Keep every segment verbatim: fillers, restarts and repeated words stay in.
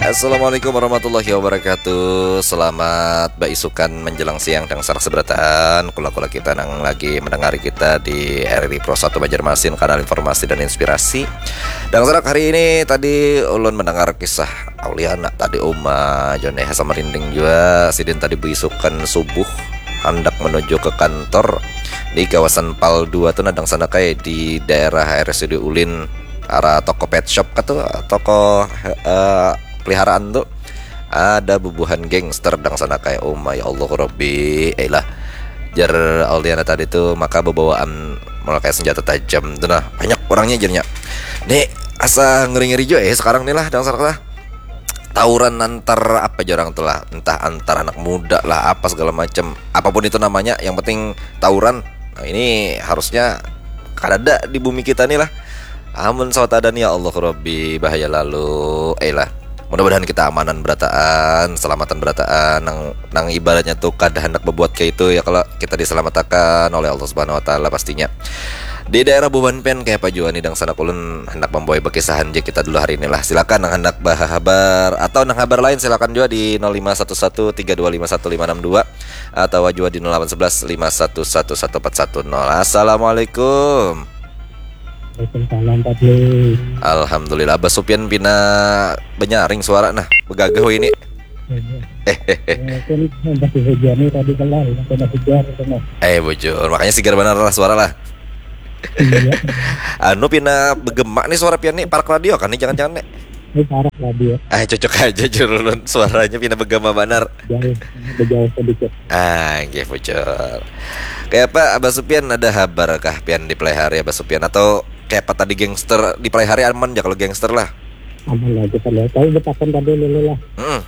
Assalamualaikum warahmatullahi wabarakatuh. Selamat baisukan menjelang siang dangsanak seberataan. Kula-kula kita nang lagi mendengari kita di R R I Pro satu Banjarmasin, kanal informasi dan inspirasi. Dangsanak, hari ini tadi ulun mendengar kisah Auliana tadi, uma Jone asa merinding jua. Sidin tadi beisukan subuh handak menuju ke kantor di kawasan Pal dua tu, nah, dangsanak ai, di daerah R S U D Ulin, arah toko pet shop kah tu, toko, eh, peliharaan tu, ada bubuhan gangster dangsanak ai. Oh my Allah Rabbi, eh lah, jar Auliana tadi tu, maka bebawaan memakai senjata tajam tu, nah, banyak orangnya jadinya. Ni asa ngeri-ngeri jua, eh, sekarang ni lah, dangsanak lah. Tawuran antar apa jar orang tu lah, entah antar anak muda lah, apa segala macam, apapun itu namanya, yang penting tawuran. Nah, ini harusnya kadada di bumi kita ni lah. Amun sawat ada ni, ya Allah Rabbi, bahaya lalu. Eh lah, mudah-mudahan kita amanan berataan, selamatan berataan, nang, nang ibaratnya tu kada hendak berbuat kayak itu, ya, kalau kita diselamatkan oleh Allah Subhanahu Wa Taala pastinya. Di daerah Buban pian kayapa jua nih, dangsanak, ulun hendak membawa bekisahan je kita dulu hari ini lah. Silakan nang hendak bahabar atau nang habar lain, silakan jua di nol lima satu satu tiga dua lima satu lima enam dua atau jua di nol delapan sebelas lima satu satu satu empat satu nol. Assalamualaikum. Waalaikumsalam, Pak Dwi. Alhamdulillah, Abah Supian pina benyaring suara nah, begagah ini. Mungkin masih hujan nih tadi, kelar, kena hujan, kena. Eh, bujur, makanya sigar banar lah suara lah. Iya. Anu, pina begema nih suara pian nih, parak radio kan nih, jangan-jangan nih. Ini parah radio. Ah, cocok aja jurulun, suaranya pina begema banar. Jauh, jauh sedikit. Ah, nggih, bujur. Kayak apa, Abah Supian, ada habar kah pian di Pelaihari, Abah Supian? Atau kayak apa tadi, gangster di Pelaihari aman ya kalau gangster lah? Aman aja, kalau tahu betakan tadi dulu lah. Hmm.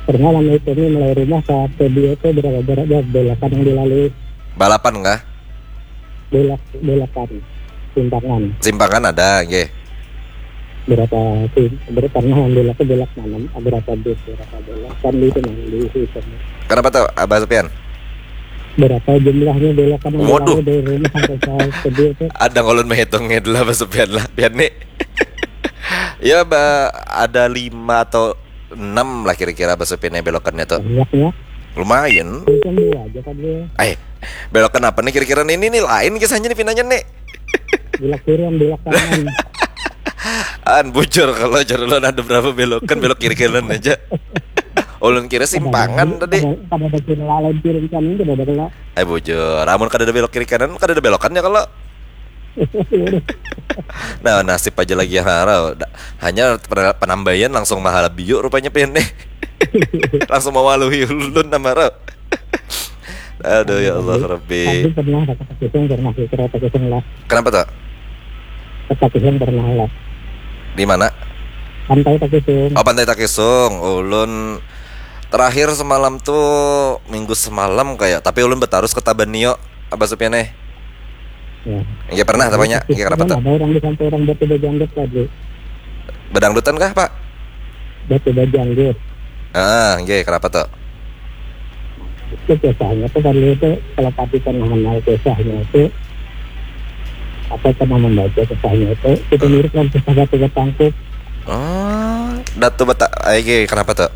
Pernah lama itu nih, mulai rumah ke studio itu berapa, berapa belokan yang dilalui? Balapan kah? Belok, belokan, simpangan. Simpangan ada, nggih. Berapa sih? Berapa, pernah yang belok ke belok mana? Berapa bus, berapa belok? Kan di itu, nah, di situ. Kenapa tuh, Abah Supian? Berapa jumlahnya belokan yang Waduh. Dilalui dari rumah sampai ke studio itu? Ada ngolun menghitung lah, Abah Supian lah, pian nih. Ya, ba, ada lima atau enam lah kira-kira, Abah Supian, yang belokannya tuh. Banyaknya. Lumayan. Itu yang dua aja kan dia. Eh, belokan apa nih kira-kira nih? Ini nih lain kisahnya nih, pinanya nih. Belok kiri, yang belok kanan. An, bujur, kalau jar ulun ada berapa belokan, belok kiri kanan aja. Ulun kira simpangan tadi. Pada, pada kiri lain, kiri kanan, tidak ada kena. Eh, bujur, amun kada ada belok kiri kanan, kada ada belokannya kalau. Nah, nasib aja lagi yang harau. Da-, hanya pen-, penambaian langsung mahala biu rupanya pian nih. Langsung mawaluhi ulun nama harau. Aduh, ya Allah Rabbi. Tapi pernah, kata Pak Kisung, pernah kira Pak Kisung lah. Kenapa tuh? Kata Pak Kisung pernah lah. Di mana? Pantai Pak Kisung. Oh, Pantai Takisung. Ulun terakhir semalam tuh, minggu semalam kayak, tapi ulun betarus ke Tabanio, Abah Supian eh. Ya. Iya, pernah, tapi nya, iya, kenapa tuh? Ada orang di samping orang batu bajanggut tadi. Bedangdutan kah, Pak? Batu bajanggut. Ah, nggih, kenapa tuh? Itu kisahnya tuh, kalau itu, kalau tadi pernah kenal kisahnya itu, apa, pernah membaca kisahnya itu, itu mirip dengan kisah Batu Betangkup. Oh, Datu Bata, ah, nggih, kenapa tuh?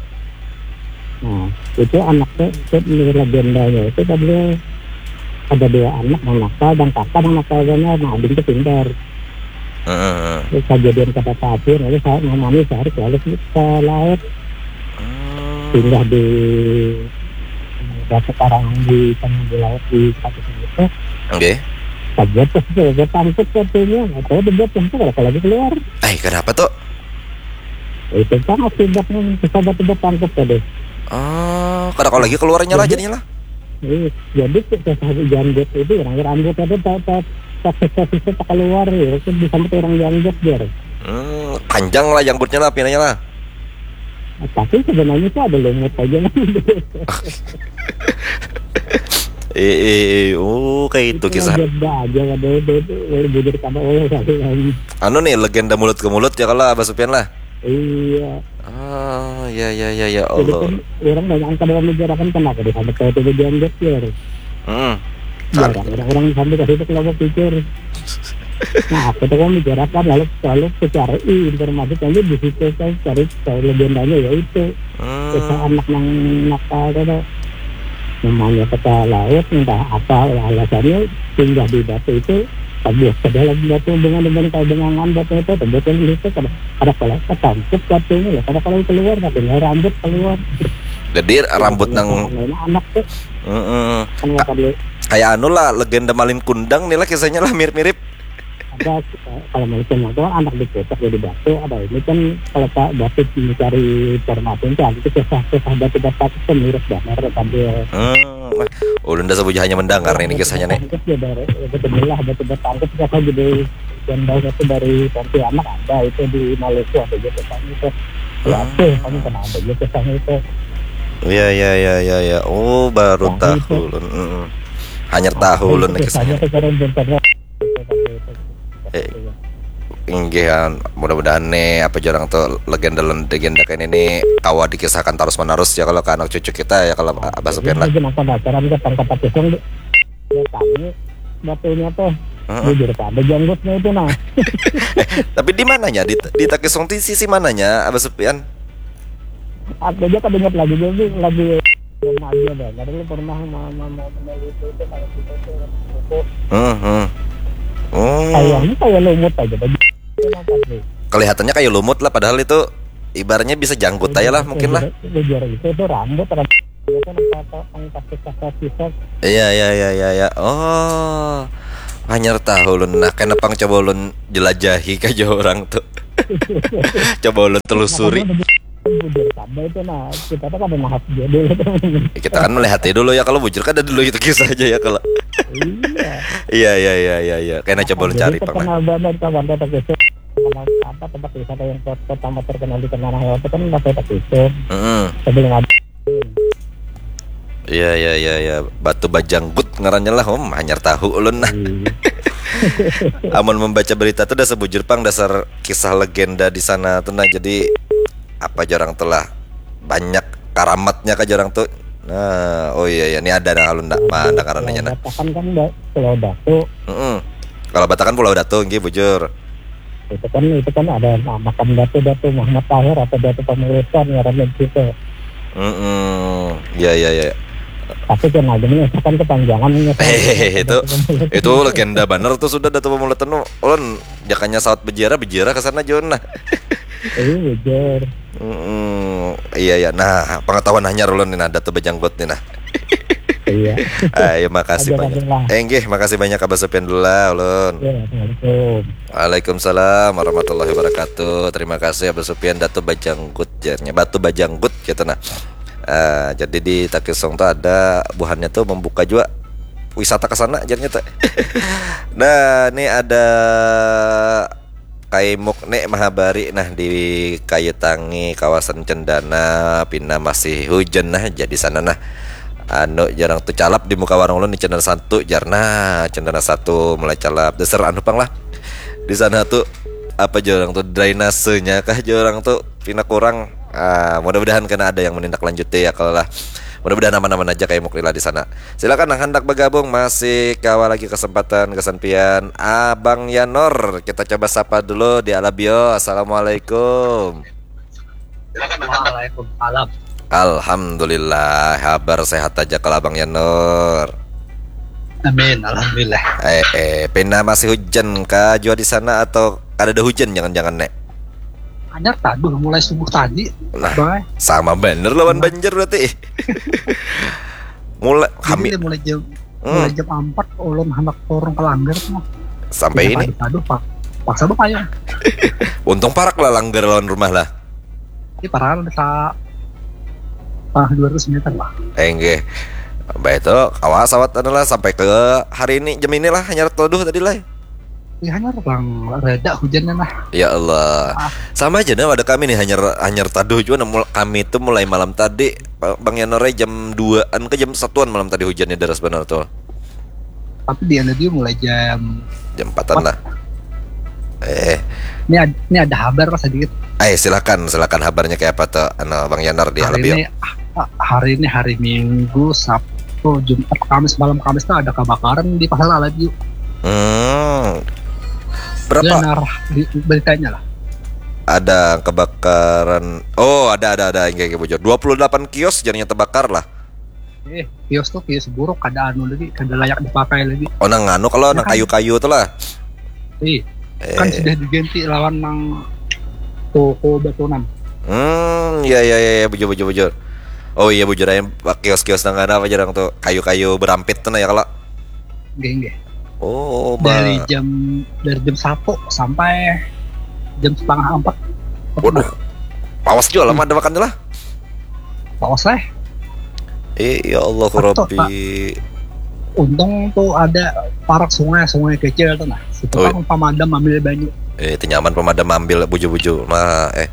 Nah, itu anaknya, itu menurut legendanya itu, tadi ada dua anak, yang nakal dan kakak yang nakal banget, nah, ading itu pintar. Heeh. Terus kejadian kada pasir, lalu saya namanya sehari selalu ke laut, Hmm. Pindah di, ya, sekarang di tengah di laut di Pakistan itu. Nggih. Saja tuh, saja tangkap katanya, atau dibuat yang tuh kalau lagi keluar. Eh, kenapa tuh? Itu kan akibatnya, saja tuh tangkap tadi. Oh, kada kalau lagi keluarnya lah jadinya lah. Iya, jadi kita saja janggut itu, orang rambut itu tak, tak, tak sisa-sisa tak keluar, ya, itu disambut orang janggut, biar. Hmm, panjang lah janggutnya lah, pinanya lah. Tapi sebenarnya itu ada lumut aja kan. Eh, eh, eh, oh, kayak itu kisah. Aja aja, ada itu, itu bujur sama Allah kali kan. Anu nih, legenda mulut ke mulut ya kalau Abah Supian lah. Iya. Ah, ya, ya, ya, ya Jadi Allah. Kan orang banyak angka dalam negara kan, kenapa disambut kayak itu bajanggut, ya? Hmm. Jarang orang-orang sampai ke situ kalau pikir. Nah, aku tuh kan bicarakan lalu, lalu ku cari informasi kan di situ kan, cari, cari legendanya ya itu. Kisah Hmm. Anak Nang Nakal itu tuh. Namanya ke laut, entah apa alasannya, singgah di batu itu, tebus ke dalam batu, dengan, dengan kayak bengangan batu itu, tebus ke situ, kada, kada kalah ketangkep batunya lah, kada kalah keluar, katanya rambut keluar. Jadi rambut nang Main anak tuh Heeh. kan nggak tadi Kayak anu lah, legenda Malin Kundang nih lah, kisahnya lah mirip-mirip. Ada, eh, kalau Malin Kundang tuh kan anak dikucek jadi batu, ada ini kan kalau Pak David mencari informasi itu, ada itu kisah-kisah batu batu itu mirip banget sambil Hmm. Ulun dah sabujuhannya mendengar nih kisahnya nih. Tangkep ya dari, ya, betul lah, batu batu tangkep, siapa jadi jambal itu dari Pontianak, ada itu di Maluku, ada juga kan itu. Ya, Hmm. Aceh, kamu kenapa aja kisahnya itu? Iya, iya, iya, iya, iya. Oh, baru Tahu tahu itu. Ulun. Heeh. Hanyar tahu Ulun nih kisahnya. Kisahnya sekarang bentarnya. Eh, inggih, kan. Mudah-mudahan nih, apa jar urang tuh, legenda-legenda kayak ini nih kawa dikisahkan terus menerus ya kalau ke anak cucu kita ya, kalau Abah Supian lah. Jadi kenapa pacaran ke tangkap pisang, dia tanya batunya tuh. Heeh. Bujur, ada janggutnya itu, nah. Tapi di mananya, di, di Takisung tuh sisi mananya, Abah Supian? Aku aja kada ingat lagi, jadi lagi belum aja deh. Jadi lu pernah ma- ma- ma- meneliti itu, kalau kita tuh waktu itu Hmm, hmm. Oh. Kayaknya kayak lumut aja baju. Kenapa sih? Kelihatannya kayak lumut lah, padahal itu ibaratnya bisa janggut aja lah mungkin lah. Bujur itu tuh rambut, rambut itu nampak angkat kita. Iya, iya, iya, iya, iya. Oh. Hanyar tahu Ulun. Nah, kenapa coba Ulun jelajahi ka jauh orang tuh? Coba Ulun telusuri. Bujur sama itu, nah, kita tuh kada nahap dia dulu tuh. Kita kan melihat ya dulu ya, kalau bujur kan ada dulu itu kisah aja ya kalau. Iya. Iya, iya, iya, iya, iya. Kena coba Ulun Jadi cari itu paman. Kenal banget kawan, kota Kusum. Kenal apa, tempat wisata yang per- pertama terkenal di Tanah Air itu kan Kota Kusum. Heeh. Sebelum ada. Iya, iya, iya, iya. Batu Bajanggut ngarannya lah, Om. Hanyar tahu Ulun nah. Iya. Amun membaca berita tuh dasar bujur pang, dasar kisah legenda di sana tuh nah. Jadi apa jar urang tuh lah, banyak karamatnya ka jar urang tuh. Nah, oh iya, iya, ini ada nah, Ulun ndak mana karananya nah. Batakan kan ba- Pulau Datu. Heeh. Kalau Batakan Pulau Datu, nggih, bujur. Itu kan, itu kan ada makam Datu, Datu Muhammad Tahir atau Datu Pamulutan ngarannya di situ. Heeh. Iya, iya, iya. Tapi kan lagi menyesakan kepanjangan ini. Eh, itu, itu legenda banar tuh sudah Datu Pamulutan tuh. Ulun jakanya sawat bejiara, bejiara ke sana jua nah. Iya, bujur. Mm-mm. Iya, iya. Nah, pengetahuan hanyar Ulun nih nah, Datu Bajanggut nih nah. Iya. Ayo, makasih Ajar banyak. aja lah. Eh, nggih, makasih banyak Abah Supian dulu lah, Ulun. Iya, assalamualaikum. Waalaikumsalam warahmatullahi wabarakatuh. Terima kasih Abah Supian, Datu Bajanggut jarnya. Batu Bajanggut gitu nah. Eh, jadi di Takisung tuh ada buhannya tuh membuka juga wisata ke sana jarnya tuh. Nah, ini ada Kaimuk nih mahabari nah di Kayu Tangi, kawasan Cendana, pina masih hujan nah, jadi sana nah. Anu, jar urang tuh calap di muka warung ulun di Cendana satu, jar nah, Cendana satu mulai calap. Dasar anu pang lah. Di sana tuh apa jar urang tuh, drainasenya kah jar urang tuh pina kurang. Ah, mudah-mudahan kena ada yang menindaklanjuti ya kalau lah. Mudah-mudahan aman-aman aja Kaimuk lila di sana. Silakan yang hendak bergabung, masih kawa lagi kesempatan gasan pian. Abang Yanor, kita coba sapa dulu di Alabio. Assalamualaikum. Waalaikumsalam. Alhamdulillah, habar sehat aja kalau Abang Yanor. Amin, alhamdulillah. Eh, eh, pina masih hujan kah jua di sana atau kada ada hujan jangan-jangan, Nek? Hanyar taduh mulai subuh tadi. Nah, Bang, sama bener lawan Banjar berarti. Mulai jadi kami mulai jam Hmm. mulai jam empat ulun handak turun ke langgar tuh. Sampai ini. Aduh, pak, paksa bapayung. Untung parak lah langgar lawan rumah lah. Ini parah ada sa ah, dua ratus meter lah. Eh, nggih. Baik itu, awas awat anu lah sampai ke hari ini jam inilah hanyar taduh tadi lah. Ya hanyar bang, reda hujannya lah. Ya Allah. Sama aja nah ada kami nih hanyar hanyar taduh juga nah, mul- kami tuh mulai malam tadi, Bang Yanore jam duaan ke jam satuan malam tadi hujannya deras benar tuh. Tapi di Alabio mulai jam Jam empatan lah. Eh, ini ada, ini ada habar lah sedikit. eh silakan silakan habarnya kayak apa tuh anu Bang Yanor di Hari Alabio. Ini ah, hari ini hari Minggu, Sabtu, Jumat, Kamis, malam Kamis tuh ada kebakaran di Pasar Alabio. Hmm. Berapa? Benar, di, beritanya lah. Ada kebakaran. Oh, ada, ada, ada. Inggih, inggih, bujur. Dua puluh delapan kios jadinya terbakar lah. Eh, kios tuh kios buruk, kada anu lagi, kada layak dipakai lagi. Oh, nang anu kalau nang kayu-kayu tuh lah. Ih, kan sudah diganti lawan nang toko batunan. Hmm, ya, ya, ya, ya, bujur, bujur, bujur. Oh iya, bujur aja, kios-kios nang anu apa jarang tuh, kayu-kayu berampit tuh nah ya kalau. Nggih, nggih. Oh, dari jam dari jam satu sampai jam setengah empat. Waduh, pawas juga lah, hmm, ada makan lah. Pawas lah. Eh, ya Allah, Rabbi. Untung tuh ada parak sungai, sungai kecil tuh nah. Itu kan pemadam ambil banyu. Eh, itu nyaman pemadam ambil buju-buju. Nah, eh.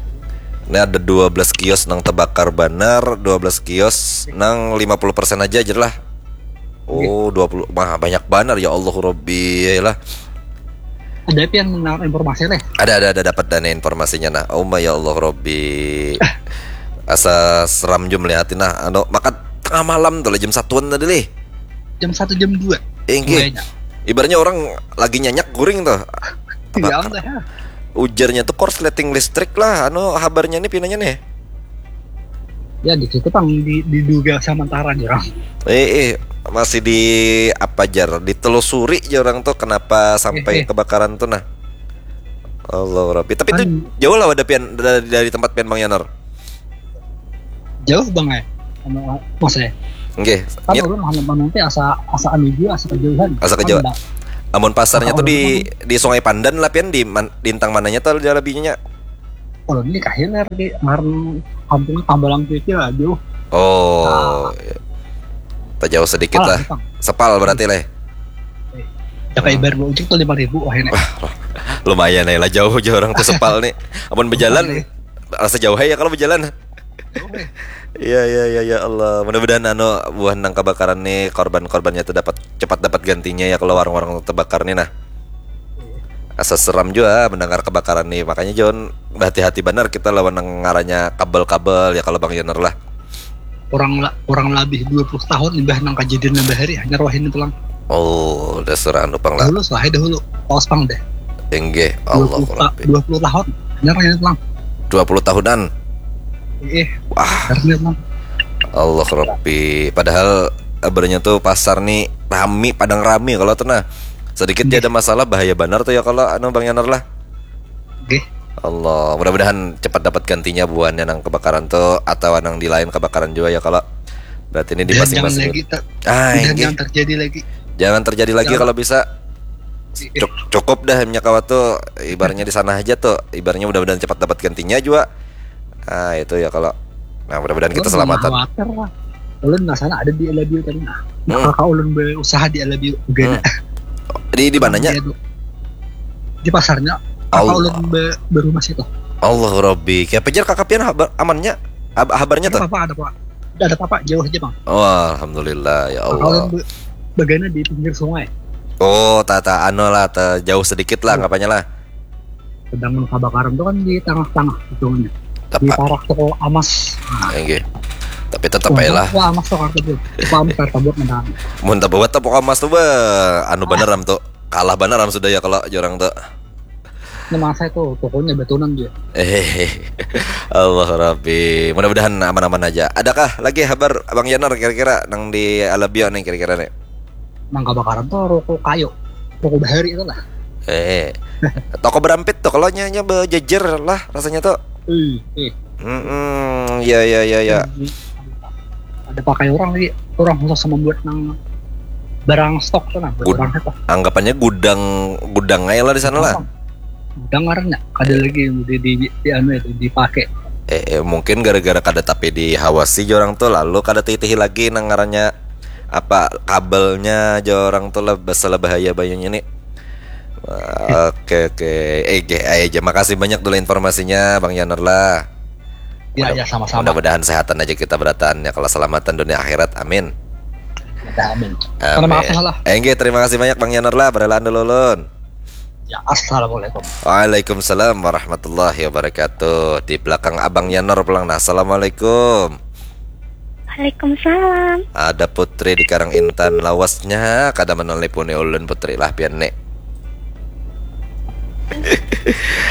Ini ada dua belas kios nang terbakar banar, dua belas kios nang lima puluh persen aja aja lah. Oh, dua puluh. Wah, banyak banar ya Allah Rabbi lah. Ada pian menang informasi leh? Ada, ada, ada dapat dana informasinya nah. Oh my ya Allah Rabbi. Asa seram jua melihatin nah. Anu, maka tengah malam tuh lah jam satuan tadi leh. Jam satu, jam dua. Inggih. Ibaratnya orang lagi nyanyak guring tuh. Iya, ujarnya tuh korsleting listrik lah, anu habarnya nih pinanya nih. Ya di situ pang di, diduga sementara nih orang. Eh, eh, masih di apa jar, ditelusuri aja orang tuh kenapa sampai eh, eh, kebakaran tuh nah. Allah Rabbi. Tapi kan itu jauh lah wadah pian dari, dari tempat pian Bang Yanar. Jauh bang eh. Anu, mas eh. Nggih. Kan ulun handak manumpi asa asa anu jua, asa kejauhan. Asa kejauhan. Amun pasarnya tuh di di Sungai Pandan lah pian di man, di intang mananya tuh jalabinya. Ulun di kahilir di ngaran kampung Tambalang Kecil lah jauh. Oh. Tajauh sedikit lah. Sepal berarti leh. Jaga ibar dua ujung tuh lima ribu wah ini. Lumayan lah jauh jauh orang tuh sepal nih. Amun berjalan rasa jauh ya kalau berjalan. Iya, iya, iya, ya Allah. Mudah-mudahan anu buah nang kebakaran nih korban-korbannya tuh dapat cepat dapat gantinya ya kalau warung-warung terbakar nih nah. Asa seram juga mendengar kebakaran nih. Makanya John berhati-hati benar kita lawan nang ngarannya kabel-kabel ya kalau Bang Yoner lah. Kurang la, kurang lebih dua puluh tahun imbah nang kejadian nambah hari hanya rohin itu lang. Oh, dasar anu pang lah. Dulu lah dahulu. Paus pang deh. Enggih, Allah Rabbi. Dua puluh tahun. Bener ya, Bang? Dua puluh tahunan. Eh, wah. Bener, Bang. Allah Rabbi. Padahal kabarnya tuh pasar nih rami, padang rami kalau tuh nah. Sedikit dia ada masalah bahaya benar tuh ya kalau anu Bang Yanar lah. Oke. Allah, mudah-mudahan cepat dapat gantinya buahnya nang kebakaran tuh atau nang di lain kebakaran juga ya kalau berarti ini di masing-masing. Ah, jangan terjadi lagi. Jangan terjadi lagi kalau bisa. Cukup dah minyak kawat tuh ibaratnya di sana aja tuh ibaratnya mudah-mudahan cepat dapat gantinya juga. Ah itu ya kalau nah mudah-mudahan kita selamatan. Khawatir lah. Ulun nggak sana ada di Alabio tadi nah. Hmm. Kakak ulun berusaha di Alabio juga. Hmm. Di di mananya? Di pasarnya. Kakak ulun be, berumah situ. Allah Robbi. Kayak pejar kakak pian amannya habarnya tuh. Ada apa ada apa. Tidak ada apa-apa, jauh aja bang. Oh, alhamdulillah ya Allah. Kalau bagana di pinggir sungai. Oh, tata anu lah, jauh sedikit lah anggapannya lah. Sedangkan kebakaran itu kan di tengah-tengah ujungnya. Di parak toko amas. Nah. Tapi tetap aja lah. Wah, amas tuh kartu tuh. Amas kartu buat menang. Mun tak buat tepuk amas tuh bah, anu bener am tuh. Kalah bener am sudah ya kalau jorang tuh. Ini masa itu tokonya batunan dia. Eh, Allah Rabbi. Mudah-mudahan aman-aman aja. Adakah lagi kabar Abang Yanar kira-kira nang di Alabio nih kira-kira nih? Nang kebakaran tuh ruko kayu, ruko bahari itu lah. Eh, toko berampit tuh kalau nyanya bejejer lah rasanya tuh. Ih, ih. Hmm, ya ya ya ya. Ada pakai orang lagi, orang khusus membuat nang barang stok tuh nah, barang apa? Anggapannya gudang gudang aja lah di sana lah. Gudang karena ada lagi di di di, di anu itu dipakai. Eh, eh, mungkin gara-gara kada tapi dihawasi orang tuh lalu kada titihi lagi nang ngarannya apa kabelnya aja orang tuh lah bahaya bayangnya nih. Oke oke. Eh, aja makasih banyak dulu informasinya Bang Yanar lah. Ya, ya, sama-sama. Mudah-mudahan sehatan aja kita berataan ya kalau selamatan dunia akhirat. Amin. Amin. Terima kasih lah. Enggih, terima kasih banyak Bang Yanar lah, berelaan dulu ulun. Ya, assalamualaikum. Waalaikumsalam warahmatullahi wabarakatuh. Di belakang Abang Yanar pulang. Nah, assalamualaikum. Waalaikumsalam. Ada Putri di Karang Intan lawasnya kada menelponi ulun Putri lah pian nek.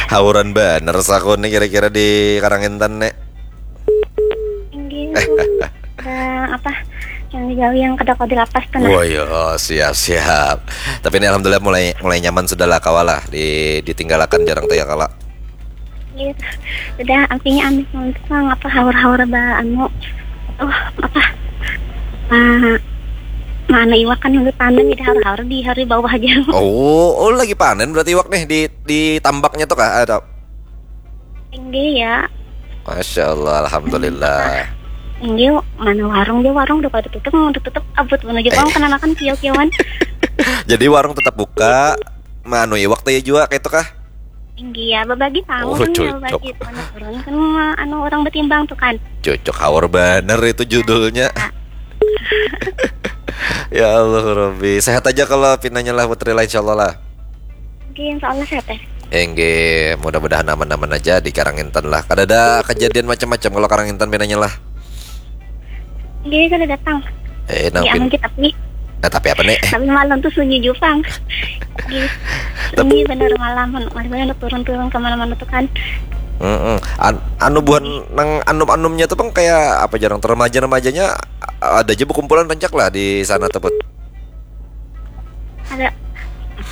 Hauran banar saku nih kira-kira di Karangintan nih. Inggih, Bu. Ada apa? Yang digawi yang kada kau dilapas tuh nah. Wah, yo, siap siap. Tapi ini alhamdulillah mulai mulai nyaman sudah lah kawa lah di ditinggalakan jarang tuh ya kala. Iya. Sudah artinya amis untuk apa haur-haur ba anu oh apa ah mana iwak kan udah panen jadi haur-haur di hari bawah aja. Oh, oh lagi panen berarti iwak nih di di tambaknya tuh kah? Ada. Tinggi ya. Masya Allah, alhamdulillah. Tinggi mana warung dia warung udah pada tutup mau tutup abut menuju bang kenanakan kiau-kiauan. Jadi warung tetap buka, manu iwak tuh ya juga kayak itu kah? Tinggi ya, berbagi tamu Oh, kan cocok. Berbagi mana turun kan ma- anu orang bertimbang tuh kan. Cocok haur banar itu judulnya. Ya Allah Robbi, sehat aja kalau pinanya lah Putri lah insyaallah lah. Oke, insya Allah sehat ya. Enggih, mudah-mudahan aman-aman aja di Karangintan lah. Kada ada kejadian macam-macam kalau Karangintan pinanya lah. Jadi kada datang. Eh, Di aman nampin. Kita nih. Nah, tapi apa nih? Tapi malam tuh sunyi jupang. Di sunyi bener malam. Malam bener turun-turun kemana-mana tuh kan. Mm-mm. An- anu buhan nang anum-anumnya tuh bang kayak apa jarang tuh remaja-remajanya ada aja berkumpulan rancak lah di sana tuh Put. Ada.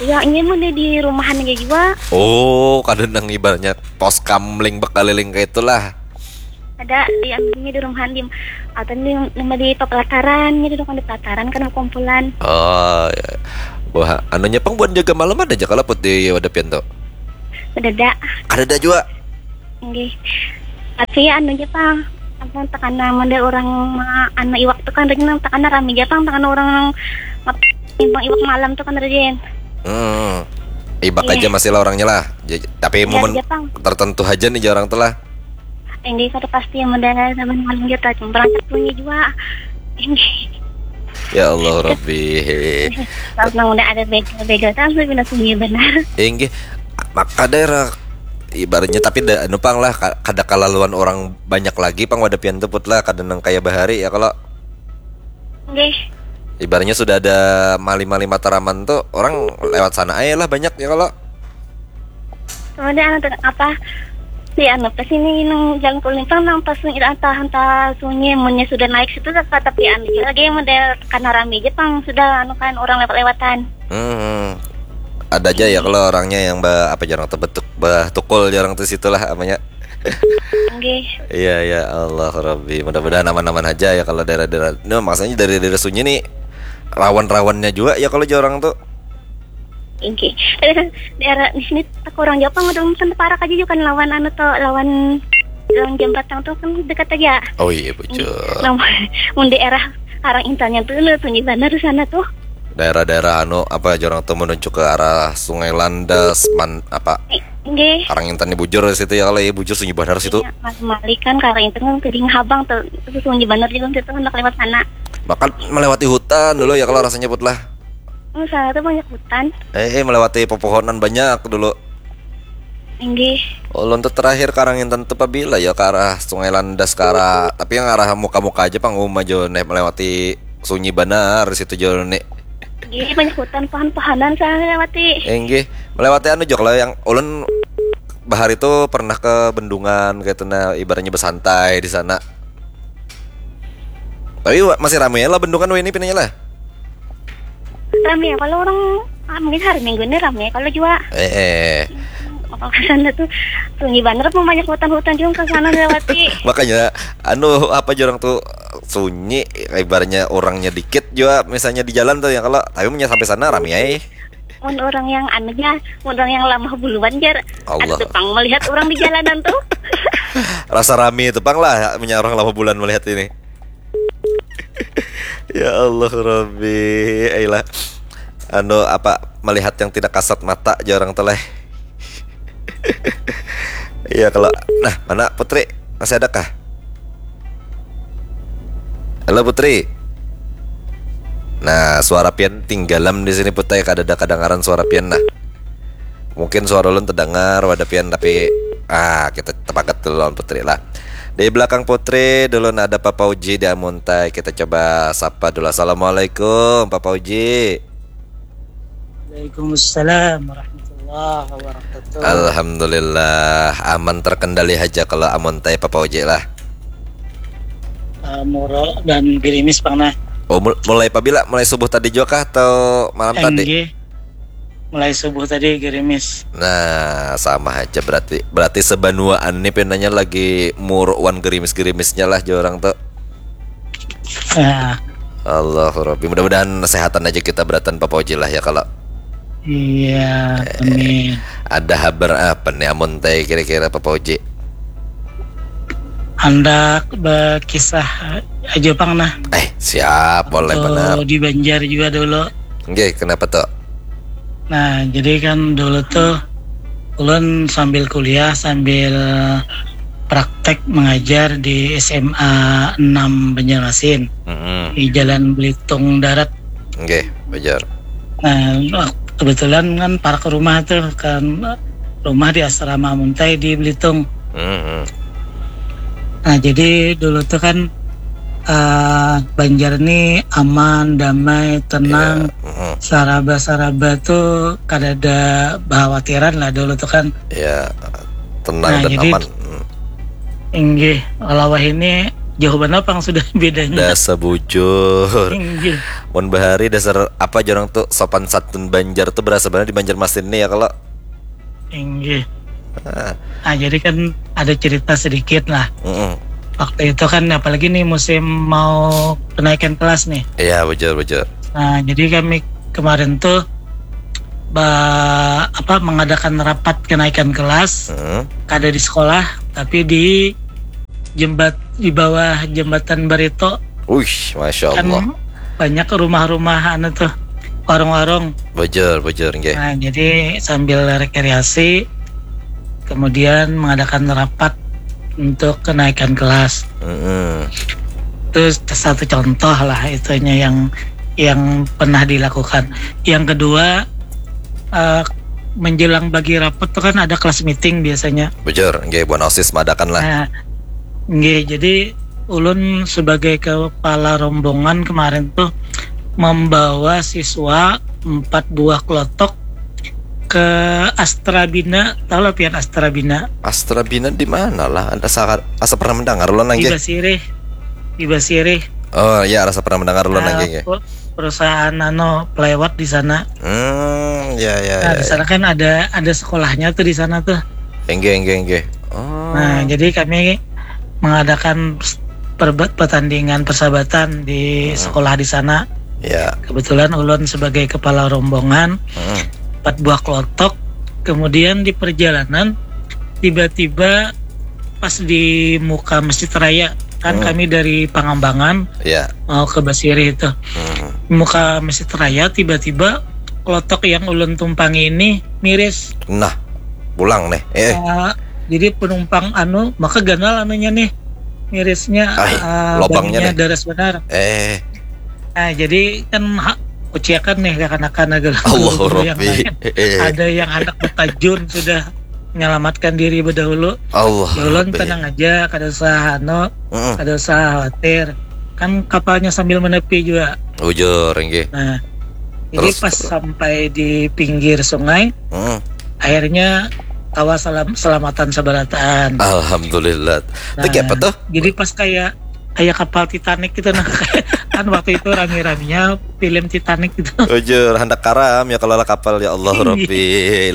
Ya ini mau di rumahan aja juga. Oh, kada nang ibaratnya pos kamling bekaliling kayak itulah. Ada di ambilnya di rumahan di atau di nama di pelataran gitu kan di pelataran kan kumpulan. Oh, ya. Wah, anunya pang buat jaga malam ada aja kalau Put di wadah pian tuh. Ada ada. Ada ada juga. Nggih. Tapi anu aja pang. Apa tekana mende orang ma- anu iwak tuh kan rajin tekana rami aja pang tekana orang ngap- nimbang iwak malam tuh kan rajin. Hmm. Ibak Iya. Aja masih lah orangnya lah. J- tapi Iya, momen iya, Pang. Tertentu aja nih jarang tuh lah. Ini kada pasti yang mende zaman malam gitu cuma berangkat punya juga. Ini Ya Allah Robbi. kalau nang udah ada begal-begal kan sudah bina sunyi benar. Inggih, maka daerah ibaratnya tapi da, anu pang lah ka- kada kalaluan orang banyak lagi pang wadah pian tuh Put lah kada nang kaya bahari ya kalau Nggih. Ibaratnya sudah ada mali-mali Mataraman tuh orang lewat sana aja lah banyak ya kalau Kemudian anu tuh apa? Di anu pas ini nang jalan kulimpang nang pas sunyi entah entah sunyi munnya sudah naik situ ke tapi anu juga lagi model karena rame aja pang sudah anu kan orang lewat-lewatan. hmm, ada aja ya kalau orangnya yang ba, apa jarang tuh betuk bah tukul jarang tuh situlah apanya Nggih. Iya ya Allah Rabbi, mudah-mudahan aman-aman aja ya kalau daerah-daerah. Nah, maksudnya dari daerah sunyi nih rawan-rawannya juga ya kalau jarang tuh. Inggih. Tapi kan daerah di sini tak kurang jauh pang udah kan parak aja juga kan lawan anu tuh lawan lawan jembatan tuh kan dekat aja. Oh iya bocor. Nah, mun daerah Karang Intannya tuh lu sunyi benar di sana tuh. Daerah-daerah anu apa jarang tuh menuju ke arah Sungai Landas man apa Nggih. Karang Intan nih bujur di situ ya kalau ya bujur sunyi benar situ. Ya, Mas Malik kan Karang Intan kan kering habang tuh itu sunyi benar juga situ hendak lewat sana. Maka melewati hutan dulu ya kalau rasanya Put lah. Oh, sana tuh banyak hutan. Eh, eh, melewati pepohonan banyak dulu. Inggih. Ulun tuh terakhir Karang Intan tuh pabila ya ke arah Sungai Landas ke arah tapi yang arah muka-muka aja pang uma jo nih melewati sunyi benar di situ jo nih. Inggih banyak hutan pohon-pohonan sana lewati. Inggih, melewati anu jo kalau yang ulun bahari tuh pernah ke bendungan kayak itu nah ibaratnya bersantai di sana. Tapi wa- masih ramai lah bendungan wah ini pinanya lah. Rame ya kalau orang ah, mungkin hari Minggu ini rame kalau juga Eh, eh. Kalau ke sana tuh sunyi bener apa banyak hutan-hutan juga ke sana lewati. Makanya anu apa jarang tuh sunyi ibaratnya orangnya dikit juga misalnya di jalan tuh ya kalau tapi punya sampai sana ramai aja. Mun orang yang anu ya, mun orang yang lamah buluan jar. Allah. Ada tuh pang melihat orang di jalanan tuh. Rasa rame itu pang lah punya orang lama bulan melihat ini. Ya Allah Robbi, ayolah. Anu apa melihat yang tidak kasat mata aja orang tuh leh. Iya kalau nah mana Putri masih ada kah? Halo Putri. Nah, suara pian tinggalam di sini Putri kada ada kedengaran suara pian nah. Mungkin suara ulun terdengar wadah pian tapi ah kita tepakat dulu lawan Putri lah. Di belakang Putri dulu nah ada Papa Uji di Amuntai. Kita coba sapa dulu. Assalamualaikum Papa Uji. Waalaikumsalam warahmatullahi Alhamdulillah, aman terkendali haja kalau amun tai Papa Uji lah. Uh, muro dan gerimis pang nah. Oh, mul- mulai pabila? Mulai subuh tadi juga kah atau malam tadi? Enggih. Mulai subuh tadi gerimis. Nah, sama aja berarti. Berarti sebanuaan nih pinanya lagi muruk wan gerimis-gerimisnya lah jar orang tuh. Nah. Allahu Rabbi. Mudah-mudahan sehatan aja kita beratan Papa Uji lah ya kalau. Iya, eh, amin. Ada habar apa nih amun teh kira-kira Papa Uji? Handak berkisah aja pang nah. Eh, siap, boleh benar. Di Banjar juga dulu. Oke, kenapa tuh? Nah, jadi kan dulu tuh ulun sambil kuliah sambil praktek mengajar di S M A enam Banjarmasin, mm-hmm, di Jalan Belitung Darat. Oke, Banjar. Nah, kebetulan kan parak rumah tuh kan, rumah di asrama Muntai di Belitung. Mm-hmm. Nah, jadi dulu tuh kan uh, Banjar nih aman, damai, tenang. Yeah. Mm-hmm. Saraba-saraba tuh kada ada khawatiran lah dulu tuh kan. Ya, yeah. Tenang nah, dan jadi, aman. Hmm. Inggih, kalau wahini jauh banget pang sudah bedanya. Dasar bujur. Inggih. Mun bahari dasar apa jar orang tuh sopan santun Banjar tuh berasa banget di Banjarmasin nih ya kalau. Inggih. Ah. Nah, jadi kan ada cerita sedikit lah. Mm-mm. Waktu itu kan apalagi nih musim mau kenaikan kelas nih. Iya, bujur, bujur. Nah, jadi kami kemarin tuh ba, apa mengadakan rapat kenaikan kelas. Mm-mm. Kada di sekolah tapi di jembat di bawah jembatan Barito. Wih, masya Allah. Kan banyak rumah-rumah anu tuh, warung-warung. Bujur, bujur, nggih. Nah, jadi sambil rekreasi, kemudian mengadakan rapat untuk kenaikan kelas. Mm-mm. Itu satu contoh lah itunya yang yang pernah dilakukan. Yang kedua, uh, menjelang bagi rapat tuh kan ada kelas meeting biasanya. Bujur, nggih, buan osis mengadakan lah. Nah, nggih, jadi ulun sebagai kepala rombongan kemarin tuh membawa siswa empat buah kelotok ke Astrabina. Tahu lah pian Astrabina? Astrabina di mana lah? Ada sangat asa pernah mendengar lo nang di Basirih. Di Basirih. Oh ya, rasa pernah mendengar lo nang uh, perusahaan anu pelewat di sana. Hmm, ya ya. Nah, ya, di sana ya. Kan ada ada sekolahnya tuh di sana tuh. Enggak enggak enggak. Oh. Nah, jadi kami mengadakan pertandingan persahabatan di hmm. Sekolah di sana. Ya. Kebetulan ulun sebagai kepala rombongan, hmm. Empat buah kelotok. Kemudian di perjalanan tiba-tiba pas di muka Masjid Raya kan hmm. Kami dari Pangambangan ya. Mau ke Basirih itu. Hmm. Muka Masjid Raya tiba-tiba kelotok yang ulun tumpangi ini miris. Nah, pulang nih. Eh. Uh, jadi penumpang anu maka ganal anunya nih mirisnya. Ay, uh, lobangnya nih. Daras benar. Eh. Nah, jadi kan ha, kuciakan nih kakanakan adalah Allah Rabbi. Ada yang anak betajun sudah menyelamatkan diri berdahulu. Allah. Ulun tenang aja, kada usah anu, mm-mm. Kada usah khawatir. Kan kapalnya sambil menepi juga. Bujur, inggih. Nah, jadi terus, pas terus. Sampai di pinggir sungai, mm-mm. Akhirnya kawa selam, selamatan sabarataan. Alhamdulillah. Nah, itu apa tuh? Jadi pas kayak kayak kapal Titanic gitu nah. Kan waktu itu rame-ramenya film Titanic gitu. Bujur, handak karam ya kalau kapal ya Allah Rabbi.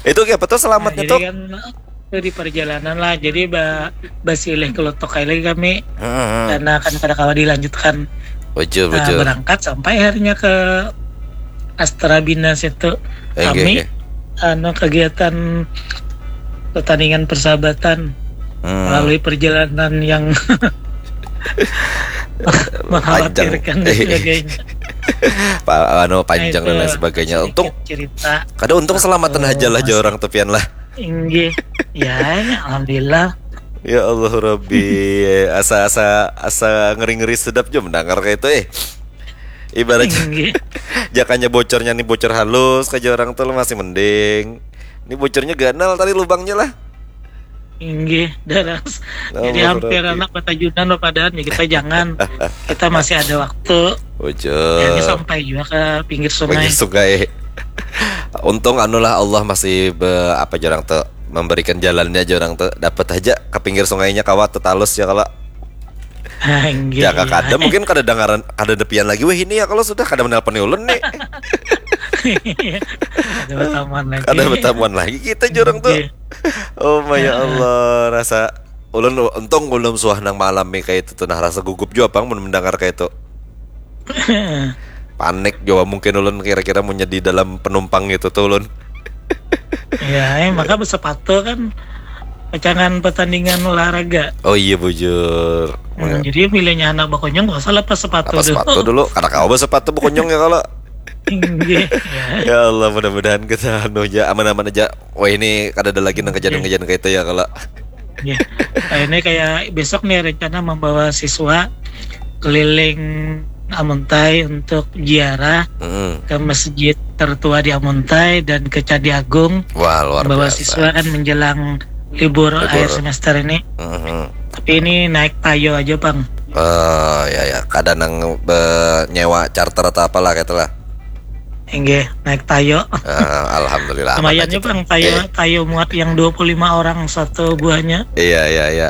Itu kayak apa tuh selamatnya nah, tuh? Kan, itu di perjalanan lah, jadi ba, basilih kelotok lagi kami hmm. Karena kan kada kawa dilanjutkan. Bujur, nah, bujur. Berangkat sampai akhirnya ke Astrabina situ. Enggak, kami enggak. Anu kegiatan pertandingan persahabatan hmm. Melalui perjalanan yang mengkhawatirkan dan sebagainya. Pak, anu panjang nah, dan lain sebagainya. Untung cerita. Kada untung selamatan aja lah orang tepian lah. Inggih. Ya, alhamdulillah. Ya Allah Rabbi, asa asa asa ngeri ngeri sedap jo mendengar kayak itu eh. Ibaratnya jakanya bocornya nih bocor halus kayak orang tuh masih mending. Ini bocornya ganal tadi lubangnya lah. Inggih, daras. Jadi hampir anak batajunan loh padahal ya kita jangan. Kita masih ada waktu. Bujur. Ini sampai juga ke pinggir sungai. Pinggir sungai. Untung anulah Allah masih be, apa jar urang tuh, memberikan jalannya jar urang tuh, dapat aja ke pinggir sungainya kawa tuh talus ya kalau. Anjir, Ya kak, kada mungkin kada dengaran, kada depian lagi weh ini ya kalau sudah kada menelponi ulun nih. Ada pertemuan lagi. Kada bertemuan lagi kita jar urang tuh. Iya. Oh my ya Allah, rasa ulun untung ulun suah nang malam nih kayak itu tuh, nah rasa gugup juga pang mun mendengar kayak itu. Panik juga mungkin ulun kira-kira mau jadi dalam penumpang gitu tuh ulun. Ya, eh, maka bersepatu kan pacangan pertandingan olahraga. Oh iya bujur. Hmm, jadi pilihnya anak bakonyong gak usah lepas sepatu Apa dulu. Sepatu dulu, karena kau sepatu bakonyong ya kalau. Inggih, ya. Ya Allah, mudah-mudahan kita anu aja aman-aman aja. Wah ini kada ada lagi nang kejadian-kejadian kayak itu ya kalau. Ya. Nah, ini kayak besok nih rencana membawa siswa keliling Amuntai untuk ziarah Mm-mm. ke masjid tertua di Amuntai dan ke Candi Agung. Wah luar Membawa biasa. Siswa kan menjelang libur, Libur. Akhir semester ini. Mm-mm. Tapi ini naik tayo aja, Bang. Oh ya ya, kada nang be- nyewa charter atau apalah gitu lah. Inggih, naik tayo. Ah, alhamdulillah. Lumayan aman ya, aja Bang, tuh. tayo Eh, tayo muat yang dua puluh lima orang satu buahnya. Iya iya iya.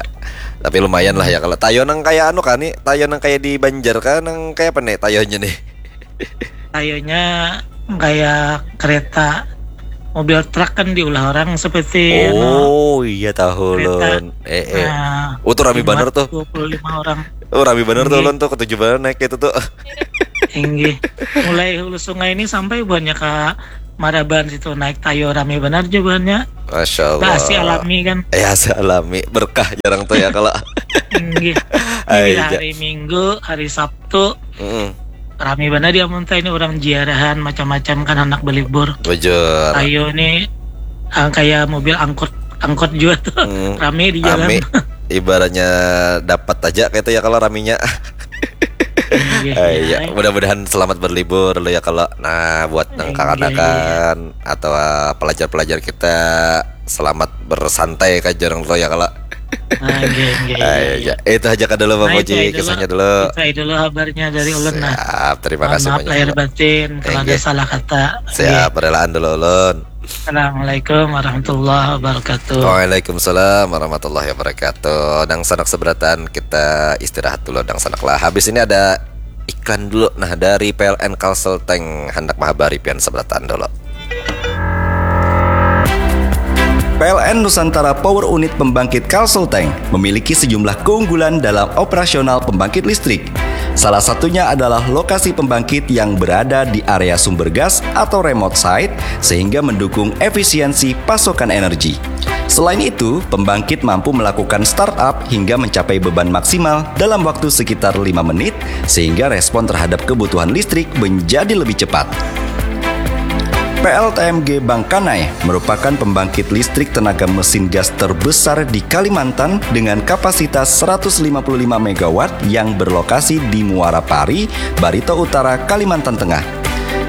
Tapi lumayan lah ya kalau tayo nang kayak anu kan nih, tayo nang kayak di Banjar kan, nang kayak apa nih tayonya nih? Tayonya kayak kereta, mobil truk kan diulah orang seperti anu, Oh iya tahu kereta. Lon. Eh eh. Nah, Oh tuh rame dimuat banget tuh. dua puluh lima orang. Oh rame banget tuh Iya. Lon tuh, ketujuh banget naik itu tuh. Inggih. Mulai Hulu Sungai ini sampai buahnya ke Maraban situ, naik tayo rame benar juga buahnya. Masya Allah. Bah, asi alami kan. Eh asi alami, berkah jar urang tuh ya kalau. Inggih. Ai, Ini ja- hari Minggu, hari Sabtu Mm-mm. rame benar di Amuntai ini, orang ziarahan macam-macam kan, anak belibur. Bujur. Tayo ini ah, kayak mobil angkut angkut juga tuh. Hmm, Rame di jalan. Rame. Ibaratnya dapat aja kayak itu ya kalau raminya. Inggih, Eh, ya. ya, mudah-mudahan selamat berlibur lo ya kalau. Nah, buat nang Inggih. Kakanakan atau pelajar-pelajar kita, selamat bersantai ka jar urang tuh ya kalau. Ah, inggih, inggih, Eh, iya. Ya, itu aja kada dulu Bang Nah, itu Oji, aja dulu. Kisahnya dulu. Itu aja dulu kabarnya dari ulun nah. Siap, terima Mohon kasih maaf banyak. lahir batin kalau ada Inggih. Salah kata. Siap, relaan dulu ulun. Assalamualaikum warahmatullahi wabarakatuh. Waalaikumsalam warahmatullahi wabarakatuh. Dangsanak seberataan, kita istirahat dulu dangsanak lah. Habis ini ada iklan dulu nah dari P L N Kalsel Tank, handak mahabari pian seberataan dulu. P L N Nusantara Power Unit Pembangkit Kalsel Tank memiliki sejumlah keunggulan dalam operasional pembangkit listrik. Salah satunya adalah lokasi pembangkit yang berada di area sumber gas atau remote site, sehingga mendukung efisiensi pasokan energi. Selain itu, pembangkit mampu melakukan startup hingga mencapai beban maksimal dalam waktu sekitar lima menit, sehingga respon terhadap kebutuhan listrik menjadi lebih cepat. P L T M G Bangkanai merupakan pembangkit listrik tenaga mesin gas terbesar di Kalimantan dengan kapasitas seratus lima puluh lima megawatt yang berlokasi di Muara Pari, Barito Utara, Kalimantan Tengah.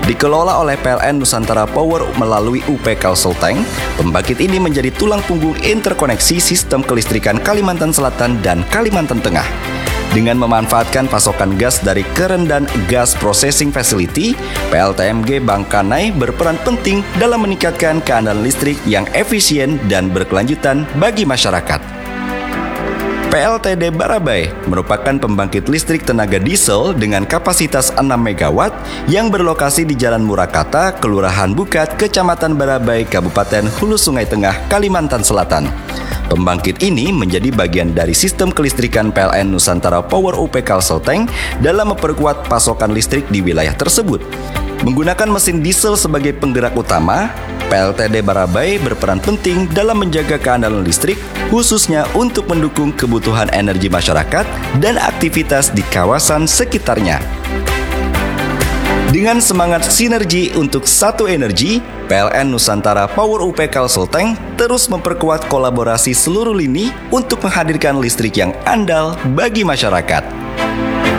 Dikelola oleh P L N Nusantara Power melalui U P Kalsel Tank, pembangkit ini menjadi tulang punggung interkoneksi sistem kelistrikan Kalimantan Selatan dan Kalimantan Tengah. Dengan memanfaatkan pasokan gas dari Kerendan Gas Processing Facility, P L T M G Bangkanai berperan penting dalam meningkatkan keandalan listrik yang efisien dan berkelanjutan bagi masyarakat. P L T D Barabai merupakan pembangkit listrik tenaga diesel dengan kapasitas enam megawatt yang berlokasi di Jalan Murakata, Kelurahan Bukat, Kecamatan Barabai, Kabupaten Hulu Sungai Tengah, Kalimantan Selatan. Pembangkit ini menjadi bagian dari sistem kelistrikan P L N Nusantara Power U P Kalsel Tank dalam memperkuat pasokan listrik di wilayah tersebut. Menggunakan mesin diesel sebagai penggerak utama, P L T D Barabai berperan penting dalam menjaga keandalan listrik, khususnya untuk mendukung kebutuhan energi masyarakat dan aktivitas di kawasan sekitarnya. Dengan semangat sinergi untuk satu energi, P L N Nusantara Power U P Kalsel Tank terus memperkuat kolaborasi seluruh lini untuk menghadirkan listrik yang andal bagi masyarakat.